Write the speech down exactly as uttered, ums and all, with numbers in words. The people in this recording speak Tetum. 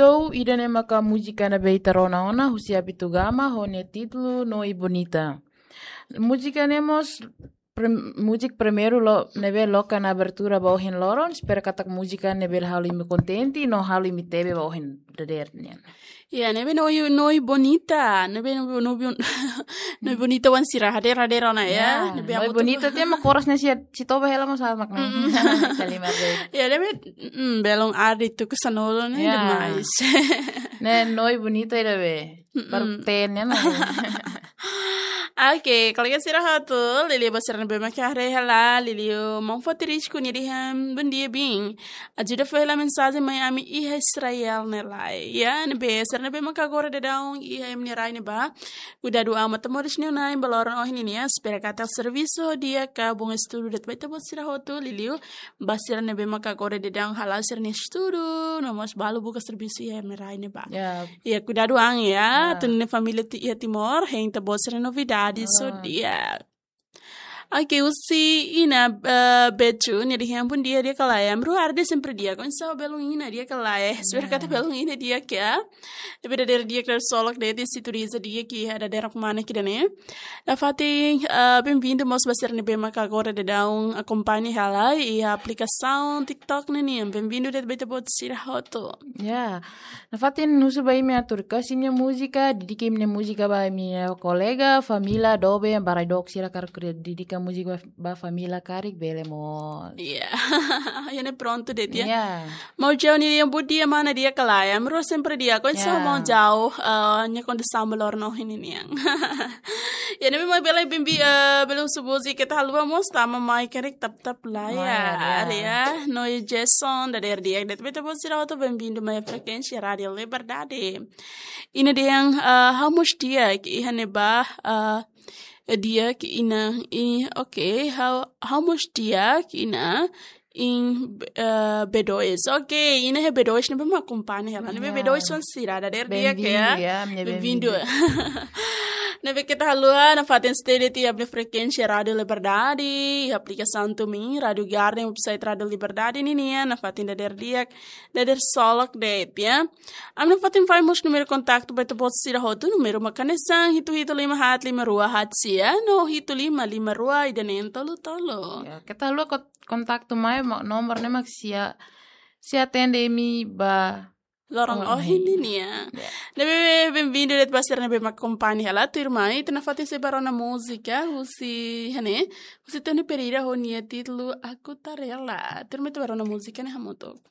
Tou ida ne'e maka múzika ne'ebé ita rona ona, husi Abitugama, ho nia títulu Noi Bonita. Múzika ne'e mós prem-, múzika primeiru lo, ne'ebé loke ona abertura ba ohin loron, espera katak múzika ne'e bele halo imi kontente, no halo imi tebe ba ohin dadeer nian. Ya, ne'ebé Noi, Noi Bonita, ne'ebé Noi, Noi Bon-, Noi Bonita wan sira hadeer, hadeer ona ya. Ya, ne'ebé Noi amo tu Bonita tiha mak koras ne'e sira, sira toba hela mós mak ne'e. Mm-mm. Kalimar deh. Ya, ne'ebé, mm, belun ardi tuku sanulu ne'e Ya. demais. Ne'e Noi Bonita ida be. Mm-mm. Baru ten ya, nah. Oke, kolega sira hotu, liuliu ba sira ne'ebé mak haree hela, liuliu maun Foti Risku nia dehan, bondia biin. Ajuda fó hela mensajen mai ami iha Israel ne'e lai. Ya, ne'ebé sira ne'ebé mak agora daudaun iha ema nia rai ne'ebá. Kuidadu an matan-moris nia na'in ba loron ohin nian, espera katak servisu di'ak ka bom estudu de'it ba ita-boot sira hotu, liuliu ba sira ne'ebé mak agora daudaun hala'o sira-nia estudu, no mós balu buka servisu iha ema nia rai ne'ebá. Ya. Ya, kuidadu an ya, Ya. Atu nune'e família ti-, iha Timor, hein ita-boot sira novidade, Ah. so di'ak. Oke, husi Ina, eh, Beju, nia dehan bondia di'ak ka lae. Ami rua ardi sempre di'ak. Oinsá ho belun Ina di'ak ka lae. Espera Ya. katak belun Ina di'ak ya. Tapi dadeer di'ak, dadeer solok de'it, sintonia di'ak iha dadeer mana ida-ne'e. Nafatin, eh, bem-vindo mós ba sira ne'ebé mak agora daudaun akompaña hela iha aplikasaun TikTok ne'e nian. Bem-vindo de'it ba ita-boot sira hotu. Ya. Nafatin husu ba imi atu request imi-nia múzika, dedika imi-nia múzika ba imi-nia kolega, família, doben, ba rai-dook sira karik dedika múzika ba, ba família karik bele mós. Ya. Ya ne'e prontu de'it ya. Ya. Maun Jao nia dehan bondia mana di'ak ka lae. Ami rua sempre di'ak. Oinsá Ya. maun Jao, eh, nia kondisaun ba loron ohin nian. Ya, ne'ebé mak bele bem-vi-, eh, bele husu múzika ita haluha mós tama mai karik tap-tap layar, Layar, ya. ya. Noi Jason, dadeer di'ak de'it ba ita-boot sira hotu, bem-vindo mai frekuénsia Rádiu Liberdade. Ina dehan, eh, ha'u mós di'ak iha ne'ebá, eh, di'ak Ina, i, oke, ha'u, ha'u mós di'ak Ina, iha, eh, B dois. Oke, Ina iha B dois, ne'ebé mak akompaña hela. Ne'ebé Ya. B dois wan sira, dadeer di'ak Bem-vindo, ya. ya, minha Bem-vindo. bem-vindo. Ne'ebé keta haluha, nafatin stay de'it iha ami-nia frekuénsia Rádiu Liberdade, iha aplikasaun TuneIn, Rádiu Garden, website Rádiu Liberdade nian, nafatin dadeer di'ak, dadeer solok de'it ya. Ami nafatin fó mós númeru kontaktu ba ita-boot sira hotu, númeru mak hanesan hitu hitu lima haat lima rua haat sia, no hitu lima lima rua ida neen tolu tolu. Ya, keta haluha ko-, kontaktu mai, ma-, nomor ne'e mak sei, sei atende imi ba Loron loron ohin ohin. nian. Ya. Ne'ebé bem-vindo de'it ba sira ne'ebé mak akompaña hela tuirmai, ita nafatin sei bá rona múzika, husi, hanesan, husi Tony Pereira ho nia títulu Aku Tarela. Tuirmai ita bá rona múzika ne'e hamutuk.